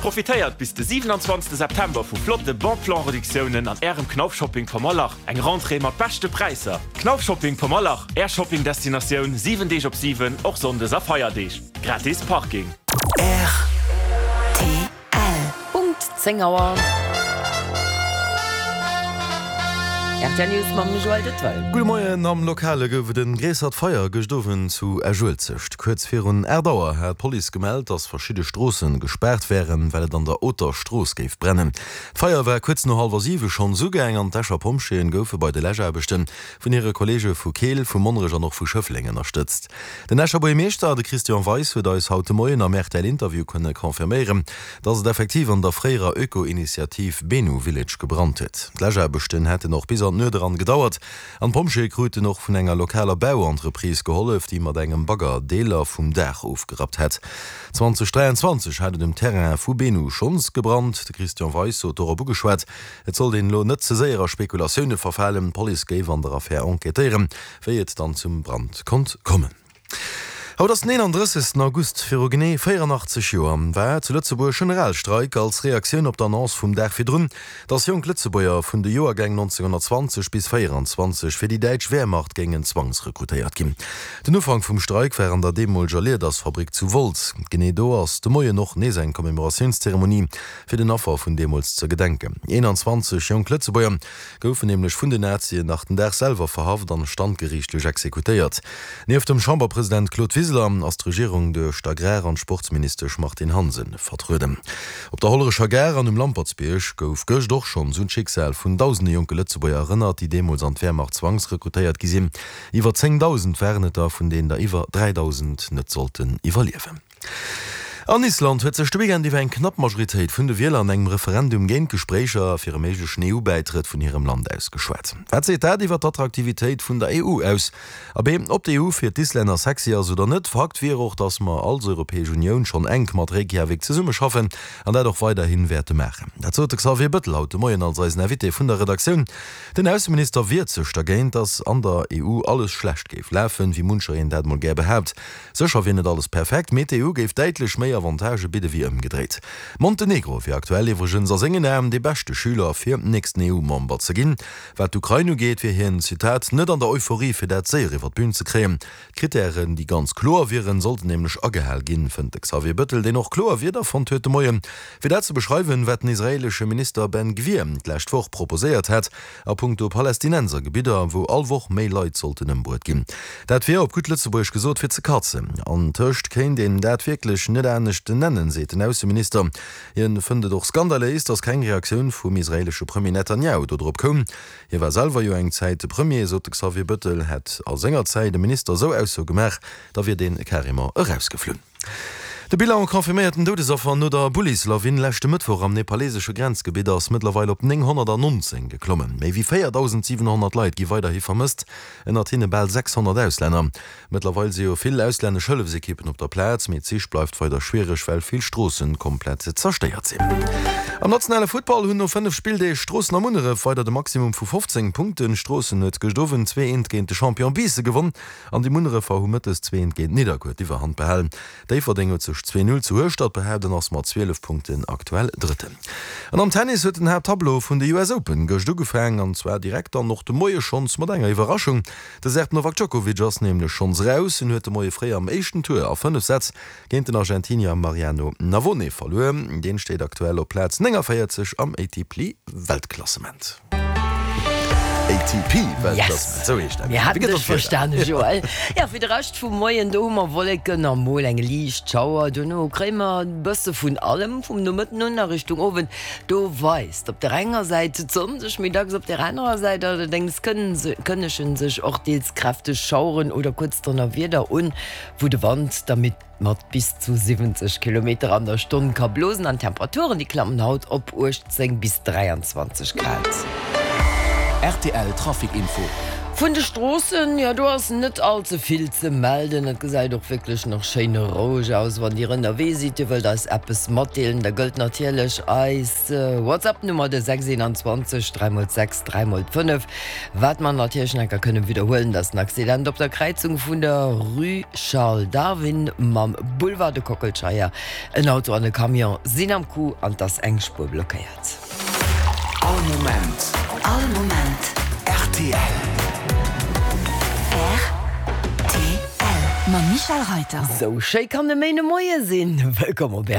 Profitéiert bis de 27 September vu flotte Bon Plan Reduktiounen an Ärem Knauf Shopping Pommerlach. Eng Rentrée mat beschte Präisser. Knauf Shopping Pommerlach, Är Shopping Destinatioun 7 Deeg op 7, och Sonndes a Feierdeeg. Gratis Parking. Rtl. Punkt 10 Auer. Rtl News mam Joël Detwell. Gudde Moien, Am Lokale gouf et en gréissert Feier gëscht Owend zu Esch-Uelzecht. Kuerz virun 8 Auer hat d'Police gemellt, dass verschidde Stroosse gespaart wären, well et an der Oter Strooss géif brennen. D'Feier war kuerz no hallwer 7 schonns ugaang an d'Escher Pompjeeën goufe bei de Läschaarbechte vun hire Kolleege vu Keel, vu Monnerech an och vu Schëffleng ënnerstëtzt. Den Escher Buergermeeschter, de Christian Weis, huet eis haut de Moien am RTL-Interview kënne confirméieren, dass et effektiv an der fréierer Öko-Initiativ Benu Village gebrannt huet. D'Läschaarbechten hätten och bis an d'Nuet eran gedauert an d'Pompjeeë kruten och vun enger lokaler Bauentreprise gehollef, déi mat engem Bagger Deeler vum Daach ofgerappt hätt. 2023 hat et um Terrain vu Benu schonns gebrannt. De Christian Weis sot dorop ugeschwat, et sollt een elo net ze séier a Spekulatioune verfalen. D'Police géif an der Affär enquêtéieren, wéi et dann zum Brand konnt kommen. Haut ass den 31. August. Viru genee 84 Joer war zu Lëtzebuerg Generalstreik als Reaktioun op d'Annonce vum Dag virdrun, datt jonk Lëtzebuerger vun de Joergäng 1920 bis 24 fir déi däitsch Wehrmacht géingen zwangsrekrutéiert ginn. Den Ufank vum Streik war an der deemoleger Liedersfabrik zu Wolz. Genee do ass de Moien och nees eng Commémoratiounszeremonie fir den Affer vun deemools ze gedenken. 21 jonk Lëtzebuerger goufen nämlech vun den Nazien nach den Dag selwer verhaft an standgeriichtlech exekutéiert. Nieft dem Chamberpresident Claude Wiseler ass d'Regierung duerch d'Agrar an d'Sportsministesch Martine Hansen vertrueden. Op der Hollerecher Gare an um Lampertsbierg gouf gëscht och schonns un d'Schicksal vun dausende jonke Lëtzebuerger erënnert, déi deemools an d'Wehrmacht zwangsrekrutéiert gi sinn. Iwwer 10.000 waren et der, vun deenen der iwwer 3.000 net sollten iwwerliewen. An Island huet sech de Weekend iwwer eng knapp Majoritéit vun de Wieler an engem Referendum géint d'Gespréicher fir e méiglechen EU-Bäitrëtt vun hirem Land ausgeschwat. Wat seet dat iwwer d'Attraktivitéit vun der EU aus? Abee, ob d'EU fir d'Islänner sexy ass oder net, Fakt wier och, datt mer als Europäesch Unioun schonn enk mat Reykjavik zesummeschaffen an dat och weiderhi wäerte maachen. Dat sot de Xavier Bëttel haut de Moien als eisen Invité vun der Redaktioun. Den Ausseminister wiert sech dergéint, datt an der EU alles schlecht géif lafen, wéi muncher een dat mol gär behaapt. Sécher wier net alles perfekt, mee d'EU géif däitlech méi Avantagë bidde wéi ëmgedréit. Montenegro wier aktuell iwwregens a sengen Aen dee beschte Schüler fir nächsten EU-Member ze ginn. Wat d'Ukrain ugeet, wier hien, Zitat, net an der Euphorie fir dat séier iwwer d'Bün ze kréien. D'Krittären, déi ganz kloer wieren, sollten nämlech agehal ginn, fënnt de Xavier Bëttel, deen och kloer Wierder fonnt huet de Moien, fir dat ze beschreiwen, wat den israeelesche Minister Ben Gvir d'lescht Woch proposéiert hat, A punkto Palästinensergebidder, wou all Woch méi Leit sollten ëmbruet ginn. Dat wier, op gutt Lëtzebuergesch gesot, fir ze katzen. An tëscht kéint een dat wierklech net anescht nennen, seet den Ausseminister. Hien fënnt et och skandaléis, datt keng Reaktioun vum israeelesche Premier Netanjahu dodrop koum. Hie war selwer jo eng Zäit de Premier, sot de Xavier Bëttel. Hätt a senger Zäit e Minister esou Aussoe gemaach, da wier dee carrément erausgeflunn. De Bilan confirméierten Doudesaffer no der Bullislawin leschte Mëttwoch am nepalesesche Grenzgebitt ass mëttlerweil op 919 geklommen. Méi wéi 4.700 Leit gi weiderhi vermësst, ënnert hinne bal 600 Auslänner. Mëttlerweil si jo vill auslännesch Hëllefsekippen op der Plaz, mee d'Sich bleift weider schwiereg, well vill Stroosse komplett zerstéiert sinn. Am nationale Futtball hunn no 5 Spilldeeg Stroossen a Munneref weider de Maximum vu 15 Punkten. Stroossen huet gëscht Owend 2, 1 géint de Champion Biissen gewonn. An déi Munnerefer hu mëttes 2 géint Nidderkuer d'Iwwerhand behalen. Déifferdeng huet sech 2, 0 zu Hueschtert behaapt an ass mat 12 Punkten aktuell Drëtten. An am Tennis huet den Haapttableau vun de US Open gëscht ugefaang an zwar direkt dann och de Moie schonns mat enger Iwwerraschung. De Serb Novak Djokovic ass nämlech schonns raus. En huet de Moie fréi am éischten Tour a 5 Sätz géint den Argentinier Mariano Navone verluer. Deen steet aktuell op Plaz 49 am ATP-Weltklassement. ATP-Weltklassement, esou heescht dat. Mir haten dech verstane Joël. Jo, fir de Rescht vum Moien, do hu mer Wolleken a mol eng liicht Schauer. Dono kréie mer e bësse vun allem vum Nomëtten un a Richtung Owend. Do weist op der enger Säit d'Sonn sech méi dacks, op der anerer Säit allerdéngs kënnegen sech och deels kräfteg Schaueren oder kuerz Donnerwieder un, wou de Wand da mat bis zu 70 Kilometer an der Stonn ka blosen an d'Temperaturen déi klammen haut op 18 bis 23 Grad. Rtl Trafic Info. Vun de Stroossen, jo do ass net all ze vill ze melden. Et gesäit och wierklech nach schéin roueg aus. Wann Dir ënnerwee sidd, Dir wëllt eis eppes matdeelen, da gëllt natierlech eis WhatsApp Nummer, de 6 21 3 x 6 3 x 5. Wat mer natierlech nach enker kënnen widderhuelen, dat ass den Accident op der Kräizung vun der Rue Charles Darwin mam Boulevard de Kockelscheier. En Auto an e Camion sinn am Coup an 't ass eng Spuer blockéiert. All Moment. All Moment. Rtl. Rtl. Mam Michel Reiter. Sou schéi kann e Méinemoie sinn. Wëllkomm op.